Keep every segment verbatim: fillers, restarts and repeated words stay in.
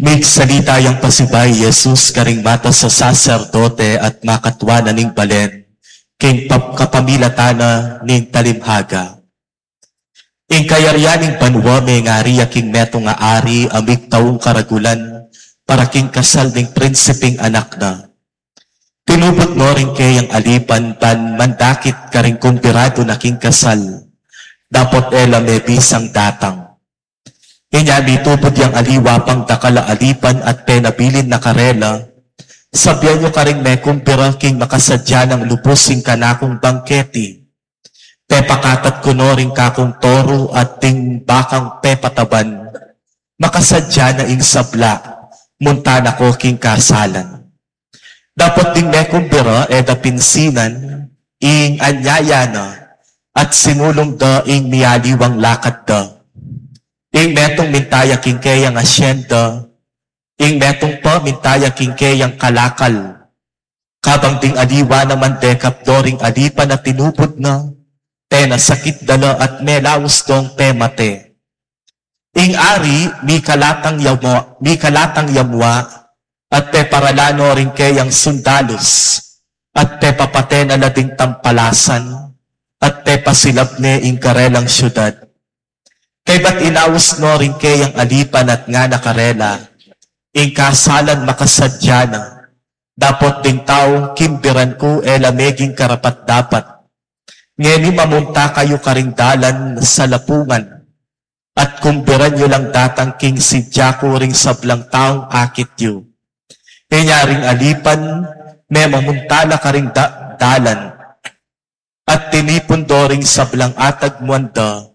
Migsalita yang pasibayu i Jesus karing matas a saserdote at makatua na ning balen, king pap-, kapamilatan na ning talimhaga. Ing kayarian ning banua mengari ya king metung a ari a migtaung karagulan para king kasal ning prinsiping anak na. Tinubud no ring keyang alipan ban mandakit karing kumbiradu na king kasal, dapot e la mebisang datang. Inya mitubud yang aliwa pang dakal a alipan at penabilin na karela, "Sabian yu karing mekumbira king makasadya nang lubus ing kanakung bangketi. Pepakatat ku no ring kakung toru at ding bakang pepataban, makasadya na ing sabla, munta na ko king kasalan." Dapot ding mekumbira e da pinsinan ing anyaya na, at sinulung da ing mialiwang lakad da. Ing metung minta ya king keyang asyenda, ing metung pa minta ya king keyang kalakal. Kabang ding aliwa naman dekap do ring alipan a tinubud na, penasakit da la at melaus dong pemate. Ing ari mikalatang ya mua, mikalatang ya mua, at peparala no ring keyang sundalus, at pepapate na la ding tampalasan, at pepasilab ne ing karelang syudad. Kaybat inaus no ring keyang alipan at ngana karela, "Ing kasalan makasadya na, dapot ding taung kimbiran ku e la meging karapat-dapat. Ngeni mamunta kayu karing dalan salapungan, at kumbiran yu lang datang king sidya ku ring sablang taung akit yu." Inya ring alipan, memamunta la karing da-, dalan, at tinipun do ring sablang atagmuan da,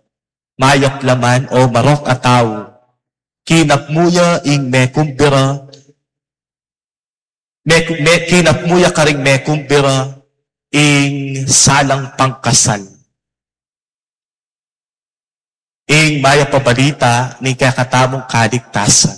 mayap la man o marok a tau. Kinapmu ya ing mekumbira, me-, me-, kinapmu ya karing mekumbira ing salang pangkasal. Ing mayap a balita ning kekatamung kaligtasan.